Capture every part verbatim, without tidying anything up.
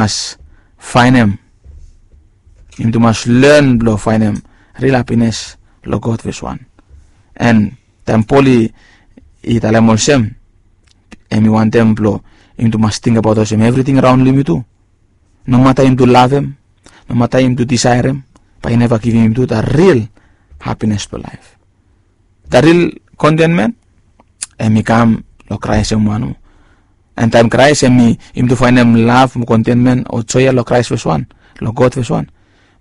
mas faenem, yumi tu mas len blong faenem ril hapines long God fes wan. An taem Pol i talem olsem, hem i wantem blong yumi tu mas tingbaot olsem evriting raon long yumi tu, nomata yumi tu lavem, nomata yumi tu disaerem, bae i neva givim yumi tu da ril hapines blong laef. Da ril kontenmen hem i kam long Kraes hem wan. An taem Kraes hem i, yumi tu faenem lav mo kontenmen o joe ya long Kraes fes wan, long God fes wan,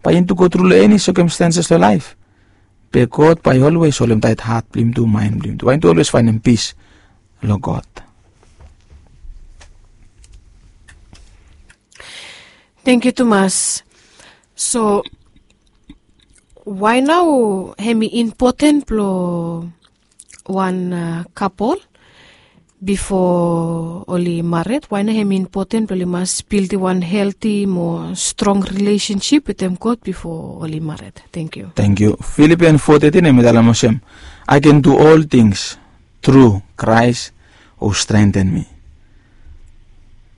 bae yumi tu gotru long eni sekamstanses long laef, be God bae i olwes holem taet hat blong yumi tu, maen blong yumi tu, bae yumi tu olwes faenem pis long God. Tangkiu tumas. So wae nao hem i impoten blong wan kapol bifo oli mared? Wae nao hem i impoten blong oli mas bildim wan helti mo strong rilesensip wetem God bifo oli mared? Tangkiu. Tangkiu. Filipian fo tetin hem i talem olsem, I can do all things through Christ who strengthen me.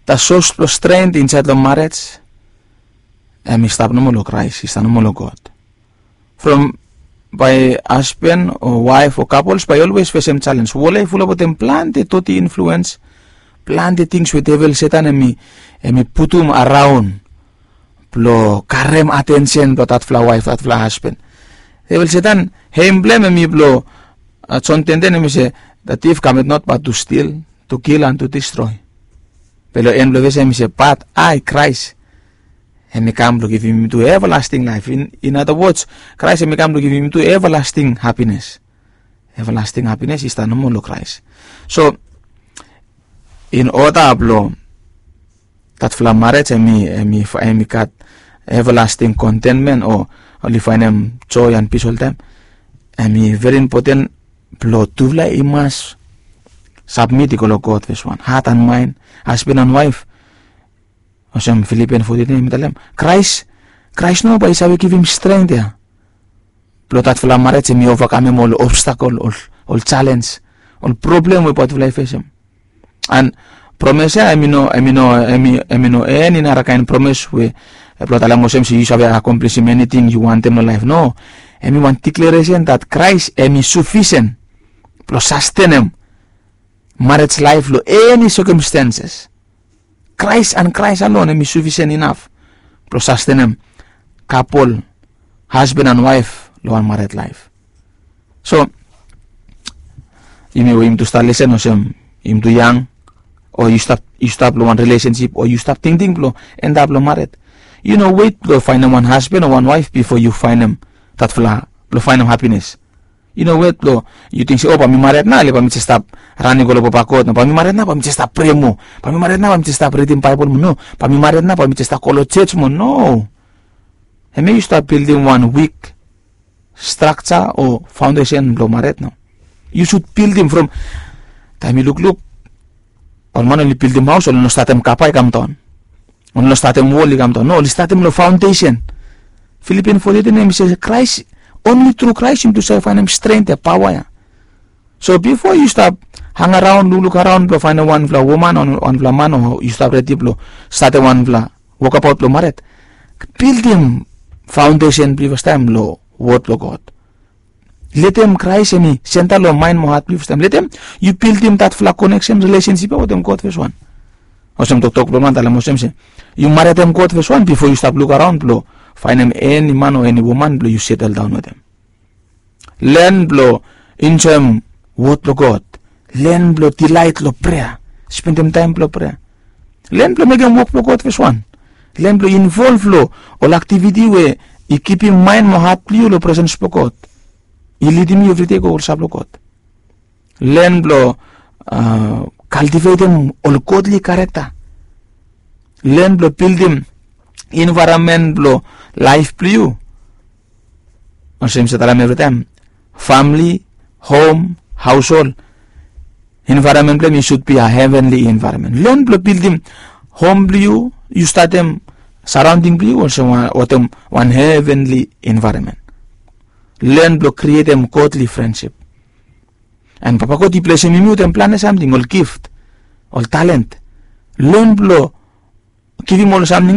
Da sos blong stren insaed long marej hem i stap nomo long Kraes, i stap nomo long God. From bae hasben o waef o kapols bae i olwes fesem jalens. Wol ya i fulap wetem plante doti influens, plante tings we devel Setan hem i, hem i putum araon blong karem atensen blong datfala waef, datfala hasben. Devel Setan, hem blong hem hem i blong, Jon tenten hem i se, the thief cometh not but to steal, to kill and to destroy. Be long en blong ves ya hem i se, but I, Kraes, hem i kam blong givim yumi tu everlasting life. In other words, Kraes hem i kam blong givim yumi tu everlasting hapines. Everlasting hapines i stap nomo long Kraes. So in oda blong datfala marej hem i, hem i gat everlasting kontenmen o oli faenem joe an pis oltaem, hem i veri impoten blong tufala i mas sabmit i go long God fes wan, hat an maen, hasben an waef. Olsem Filipian fo tetin hem i talem, Kraes, Kraes nomo bae i save givim strength ya blong datfala marej hem i ovakamem ol obstakol, ol, ol jalens, ol problem we bae tufala i fesem. An promes ya hem i no, hem i no, hem i, hem i no eni narakaen promes we blong talem olsem se yu save akomplisim eniting yu wantem long laef. No, hem i wan dikleresen dat Kraes hem i sufisen blong sastenem marej laef long eni sekamstanses. Kraes an Kraes alon hem i sufisen inaf blong sastenem kapol, hasben an waef long wan mared laef. So yumi we yumi tu stap lesen olsem yumi tu yang, o yu stap, yu stap long wan rilesensip, o yu stap tingting blong endap long mared, yu no wet blong faenem wan hasben o wan waef bifo yu faenem datfala, blong faenem hapines. Yu no wet blong yu ting se, o bae mi mared nao, le bae mi jes stap ran i go long papa God nao, bae mi mared nao bae mi jes stap prea moa, bae mi mared nao bae mi jes stap ridim Baebol moa. No, bae mi mared nao bae mi jes stap go long jos moa. No. Hemia yu stap bildim wan wik strakja o faondesen blong mared nao. Yu sud bildim from taem yu lukluk, ol man oli bildim haos, oli no statem kapa i kamdaon, oli no statem wol i kamdaon. No, oli statem long faondesen. Filipian fo tetin hem i se Kraes, onli tru Kraes yumi tu save faenem stren ya, paoa ya. So bifo yu stap hangaraon, lukluk araon blong faenem wanfala woman o wanfala man, o yu stap redi blong statem wanfala wokabaot blong mared, bildim faondesen blong yu fastaem long wod blong God. Letem Kraes hem i senta long maen mo hat blong yu fastaem. Letem yu bildim datfala koneksen, rilesensip ya wetem God fes wan. Olsem toktok blong man talem olsem se, yu maredem God fes wan bifo yu stap luk araon blong faenem eni man o eni woman blong yu seteldaon wetem. Len blong enjoem wod blong God. Len blong dilaet long prea, spendem taem blong prea. Len blong mekem wok blong God fes wan. Len blong involv long ol aktiviti we i kipim maen mo hat blong yu long presens blong God, i lidim yu evridei go olsap long God. Len blong kaltivetem ol godli karekta. Len blong bildim envaeronmen blong laef blong yu. Olsem mi save talem evritaem, famili, hom, haoshol, envaeronmen blong hem i sud bi a hevenli envaeronmen. Len blong bildim hom blong yu, yu statem saraonding blong yu olsem wetem wan hevenli envaeronmen. Len blong krietem godli frensip. An Papa God i blesem yumi wetem plante samting, ol gift, ol talent. Len blong givim ol samting